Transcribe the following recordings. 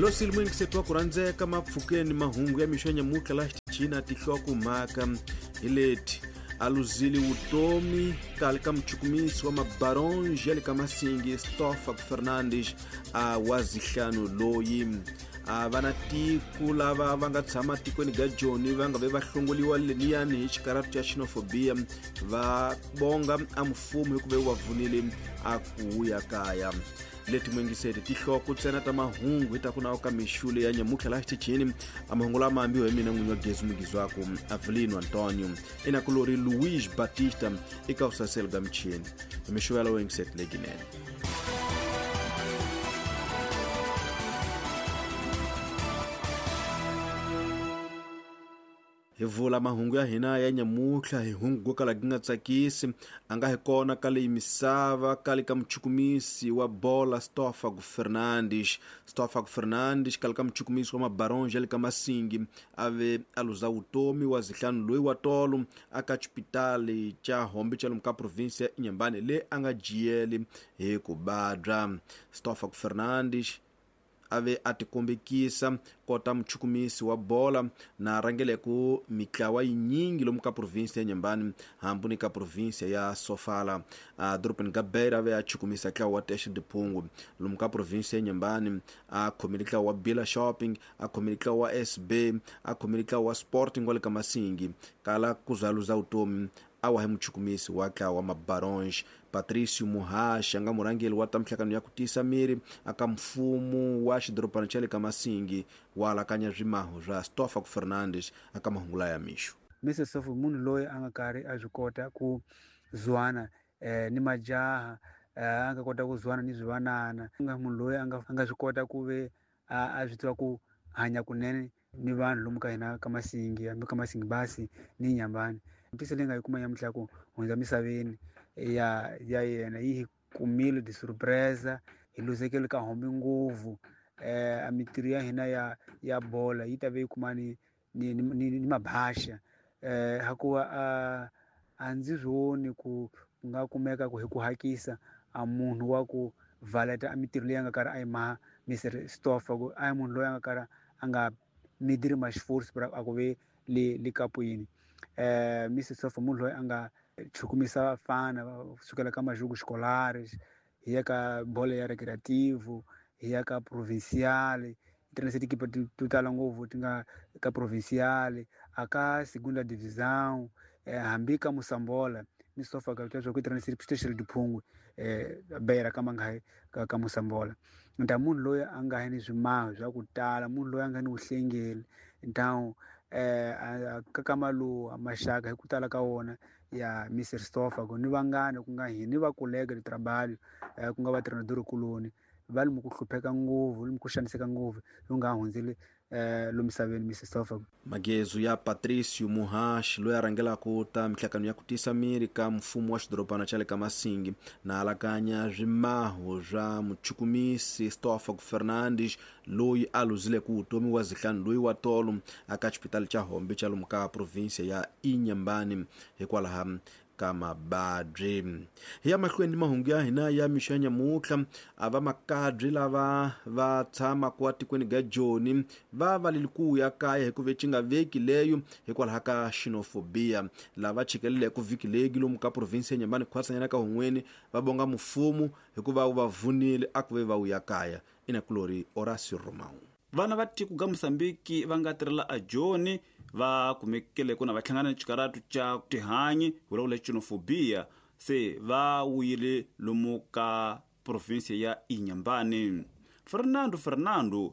Hi lo sili muyingiseti wa ku rhandzeka mapfukeni mahungu ya mixo ya nyamutlha laha xitichini a tinhlokomhaka hi leti: a luzile vutomi kale ka muchukumisi wa mabaronge ya le ka Masingi Stoffak Fernandes a wa zihlanu loyi a va na tiko lava va nga tshama tikweni ga Joni va nga ve va hlongoliwa leniyani hi xikaratu xa xenofobia va bonga a mfumo hikuva wu va vunile a ku ya kaya. Leti muyingiseri tihloko ntsena ta mahungu hi ta ku nawu ka mixule ya nyamutlha laha xitichini. A mahungu lama ambiwa hi mina n'winyi wa gezi mugizwaku Avelino Antonio, inakulori Luis Batista eka vusaseli bya michini. Hi mixo ya lowo yingiseti leginene. Hi vula mahungu ya hina ya nyamutlha hi hungu go kala gi nga tsakisi a nga hi kona ka leyi misava kale ka muchukumisi wa bola Stoffak Fernandes. Stoffak Fernandes kale ka muchukumisi wa mabaronge ya le ka Masingi a ve a luza vutomi wa zihlanu loyi wa tolo a ka xipitali xa Hombe xa lomu ka province ya Inhambane le a nga jiyeli hi ku vabya. Stoffak Fernandes a ve a tikombekisa kota muchukumisi wa bola na rhangeleku mitlawa yinyingi lomu ka province ya Inhambane hambi ni ka province ya Sofala. A dorobeni ga Beira a ve a chukumisa ntlawa wa Teste de Pungo lomu ka province ya Inhambane, a khomile ntlawa wa Bila Shopping, a khomile ntlawa wa SB, a khomile ntlawa wa Sporting wa le ka Masingi. Kala ku za luza vutomi a wa hi muchukumisi wa ntlawa wa Mabaronge. Patricio Muhashi a nga murhangeri wa ta mihlangano ya ku tiyisa miri aka mfumo wa xidorobana xa le ka Masingi wa alakanya swimaho swa Stoffak Fernandes aka mahungu laya mixo. Mr Stoffak munhu loyi a nga karhi a swi kota ku zwana ni majaha, a nga kota ku zwana ni swivanana, nga munhu loyi a nga swi kota ku ve a swi tiva ku hanya kunene ni vanhu lomu ka hina ka Masingi, hambi ka Masingi basi ni Inhambane. Ntise leyi nga yi kuma nyamutlha ku hundza misaveni ya yena yi hi kumile de surpresa, hi luzekele ka hombe ngopfu. A mitirho ya hina ya bola yi ta ve yi kuma ni mabasha. Hakuva a ndzi swi voni ku nga kumeka ku hi ku hakisa a munhu wa ku valeta a mitirho leyi a nga karhi a yi maha Mr Stoffak, ku a hi munhu loyi a nga karhi a nga midiri ma xiforce a ku ve le kapwini. Mr Stoffak munhu loyi a nga chukumisa vafana kusukela ka majugu xikolari hi ya ka bolo ya recreativo, hi ya ka provincial, ti tikipa to tala ngopfu ti nga ka provincial, a ka segunda divisão, hambi ka Mosambola. Mr Stoffak ka swa ku tirhisa xiteshi diphungwe Beira ka mangahi ka Mosambola. Nta munhu loyi a nga ni swimaho swa ku tala, munhu loyi a nga ni vuhlengeli, ntawu ka kamaluwa maxaka hi ku tala ka wona ya Mr Stoffak ni vangani ku nga hini va kolega de trabalho, ku nga va treinador kuloni va lomu ku hlupheka ngopfu, lomu ku xaniseka ngopfu, lomu nga hundzile lomisaveni Mr Stoffak. Magezu ya Patricio Muhashi loyi a rhangelaka ta mihlangano ya ku tiyisa miri ka mfumo wa xidorobana xa le ka Masingi na alakanya swimaho swa muchukumisi Stoffak Fernandes loyi a luzileke vutomi wa zihlanu loyi wa tolo aka xipitali xa Hombe xa lomu ka province ya Inhambane hikwalaho ka mababyi. Hi ya mahlweni mahungu ya hina ya mixo ya nyamutlha, a va makabyi lava va tshamaka atikweni ga Joni va valeli ku ya kaya hikuva ci nga veki leyo hikwalaho ka xenofobia. Lava chikeleleke vhiki leyi lomu ka province ya Inhambane khwatsanyana ka Hun'weni va bonga mfumo hikuva wu va vunile a ku ve va wuya kaya. Inakulori Horacio Romão. Vana va tiko ga Mozambique va nga tirhela a Joni va kumekele ku na va hlangana ni xikaratu xa tihanyi vulavula xenofobia, se va wuyile lomu ka province ya Inhambane. Fernando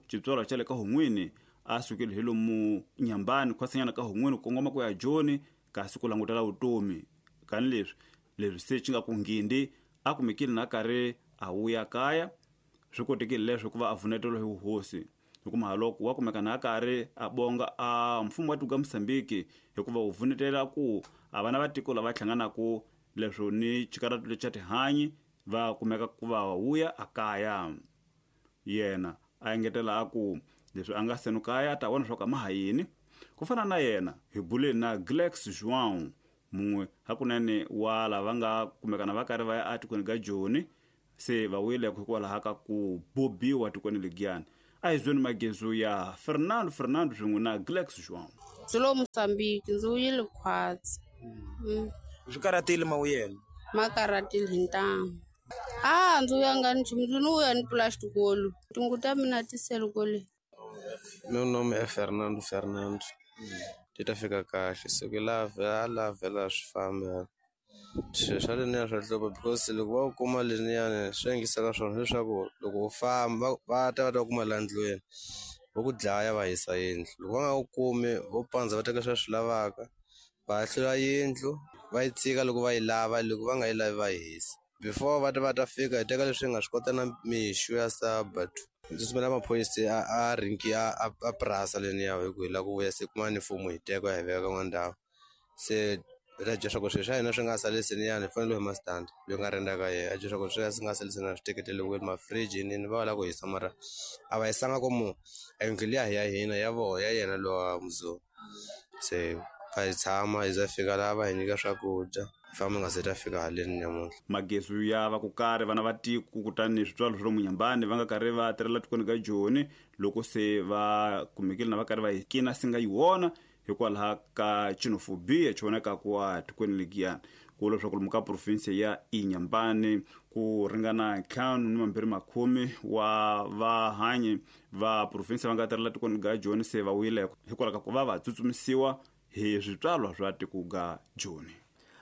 xitswalwa xa le ka Hun'wini a sukile hi lomu Inhambane khwasanyana ka Hun'wini ku kongoma ku ya Joni kasi ku langutela vutomi. Kani leswi se xi nga ku nghindi a kumekile na karhi a wuya kaya, swi kotekile leswo ku va a vunetelo hi vuhosi. Hikuva loko wa kumeka na karhi a bonga a mfumo wa tiko ga Mozambique hikuva wu vunetela ku a vana va tiko lava hlanganaka leswo ni xikaratu lexa tihanyi va kumeka ku va wuya a kaya. Yena a engetela a ku leswi a nga senu kaya a ta vona swa ku a ma ha yini. Ku fana na yena hi buleni na Glex João mun'we hakunene wa lava nga kumekana va karhi va ya atikweni ga Joni, se va wuyile hikwalaho ka ku bobiwa tikweni legiyani. A hi zweni magezu ya Fernando Fernando swin'we na Glex João. Ndzi lo Mozambique, ndzi wuyile khwatsi. Swi karatile mawuyelo? Ma karatile hi ntamu. A ndzi vuyanga nchumu, ndzi ni vuya ni plastic wolu. Tingu ta mina ti sele kwale. Meu nome é Fernando Fernando. Ti ta fika kahle siku la la vhela swi famba. Swilo swa leniya swa hlupha because loko va u kuma leniyani swi endlisaka swona leswaku loko u famba va ta va ta kuma laha ndlwini vo ku dlaya va hisa yindlu. Loko va nga ku kumi vo pandza va teka leswi va swi lavaka, va hlula yindlu va yi tshika loko va yi lava, loko va nga yi lavi va yi hisa. Before va ta va ta fika hi teka leswi hi nga swi kota na mixo ya sabado. Ndzi tsutsumela maphorisa a rinki a purasa leniya hi ku hi lava ku vuya se kuma ni fomo hi teka hi veka ka ndhawu. Se hi ta bya swa ku swilo swa hina swi nga sali seniyani hi fanele hi ma stand loyi nga renda ka yena a bya swa ku swi nga sali seniyani swi teketeriwile mafridge yini va lava ku hisa mara a va hisanga ku mu yindlu liya hi ya hina ya vona ya yena lowa muzungu. Se va hi tshama hi za fika laha va hi nyika swakudya hi famba nga se ta fika haleni namuntlha. Magezu ya va ku karhi vana va tiko kutani switswalo swa lomu Nyambani va nga karhi va tirhela tikweni ka Joni loko se va kumekile na va karhi va yi kina singa yi wona hikwalaho ka xenophobia xi vonaka ku wa tikweni lekiyani. Ku leswaku lomu ka province ya Inhambane ku ringana 220 wa vahanyi va province va nga tirhela tikweni ga Joni se va wile hikwalaho ka ku va va tsutsumisiwa hi switswalwa swa tiko ga Joni.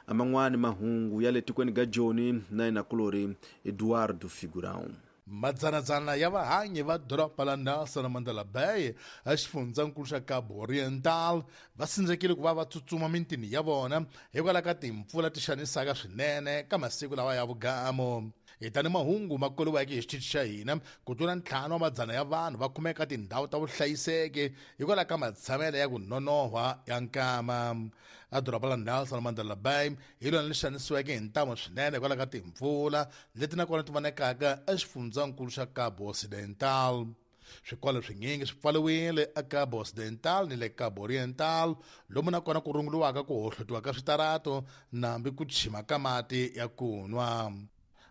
Aman'wani mahungu ya le tikweni ga Joni na inakulori Eduardo Figurão. Madzanadzana ya vahanyi va doroba la Nelson Mandela Bay exifundzankulu xa Cabo Oriental va sindzekile ku va va tsutsuma mintini ya vona hikwalaho ka timpfula ti xanisaka swinene ka masiku lawa ya vugamu. Hi tani mahungu ma koliweke hi xitichi xa hina, ku tlula 5 wa madzana ya vanhu va kumeka tindhawu ta vuhlayiseki hikwalaho ka matshamelo ya ku nonohwa ya nkama. A doroba la Nelson Mandela Bay hi lona leri xanisiweke hi ntamu swinene hikwalaho ka timpfula leti nakona ti vonekaka exifundzankulu xa Cabo Occidental. Swikolo swinyingi swi pfariwile eCabo Occidental ni le Cabo Oriental, lomu nakona ku runguriwaka ku hohlotiwa ka switarato nambi ku chima ka mati ya ku nwa.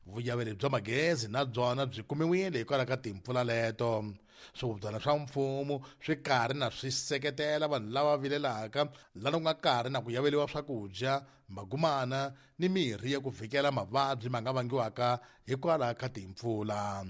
Vuyaveri bya magezi na byona byi kumiwile hikwalaho ka timpfula leto. Swihubyana swa mfumo swi karhi na swi seketela vanhu lava vilelaka lana ku nga karhi na ku yaveriwa swakudya, magumana ni mirhi ya ku vhikela mavabyi ma nga vangiwaka hikwalaho ka timpfula.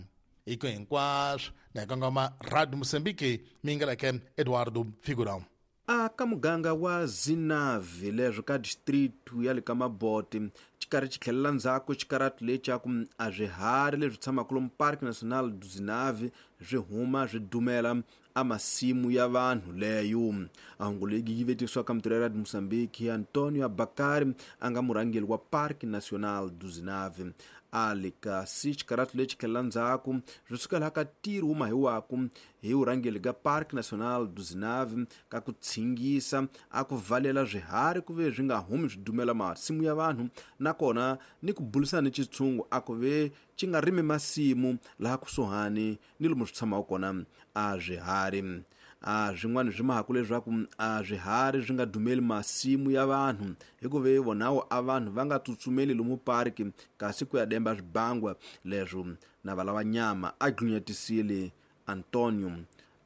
Iko hinkwaswo na hi kongoma Radio Mozambique, mi nga leke Eduardo Figurão. A ka muganga wa Zinave leswo ka district ya le ka Mabote xikarhi xi tlhelela ndzhaku xikaratu lexa ku a swiharhi leswi tshamaka lomu Parque Nacional do Zinave swi huma swi dumela a masimu ya vanhu leyo. A hungu leyi yi vetisiwa ka mitirho ya Radio Mozambique Antonio Abakari a nga murhangeri wa Parque Nacional do Zinave. A le kasi xikaratu lexi tlhelela ndzhaku swi suka laha ka ntirho wu mahiwaku hi vurhangeri ka Parque Nacional do Zinave ka ku tshingisa a ku valela swiharhi ku ve swi nga humi swi dumela masimu ya vanhu nakona ni ku bulisana ni xitshungu a ku ve xi nga rimi masimu laha kusuhani ni lomu swi tshamaka kona a swiharhi. A swin'wana swi mahaku leswaku a swiharhi swi nga dumeli masimu ya vanhu hikuva vonawo a vanhu va nga tsutsumeli lomu parki kasi ku ya demba swibangwa leswo na va lava nyama a dlunyetisile Antonio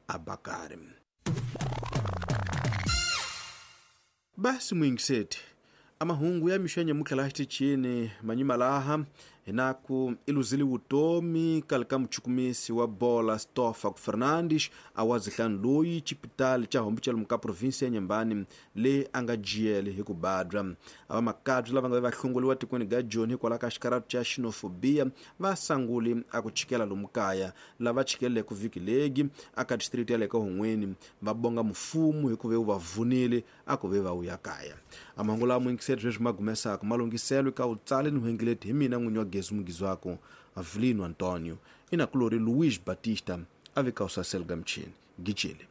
Abakari. Basi muyingiseti amahungu ya mixo ya nyamutlha laha xitichini manyima laha hinaku i luzile vutomi kale ka muchukumisi wa bola Stoffel Fernandes a wa zihlanu loyi xipitali xa hombi xa lomu ka provinsi ya Nyambani leyi a nga jiyele hi ku badwa. A va makabyi lava nga va hlongoliwa tikweni ga Joni hikwalaho ka xikaratu xa xenophobia va sanguli a ku chikela lomu kaya lava chikeleke vhiki legi aka district ya le ka Hungweni va bonga mfumo hikuva wu va vunile a ku ve va vuya kaya. A mahungu lawa muyingiseri sweswi ma gumesaka malunghiselo ka vutsali ni vuhengeleti hi mina n'winyi wa Gezu Mugizwako Avelino Antonio inakulori Luiz Batista a veka usasel ga mchini gijele.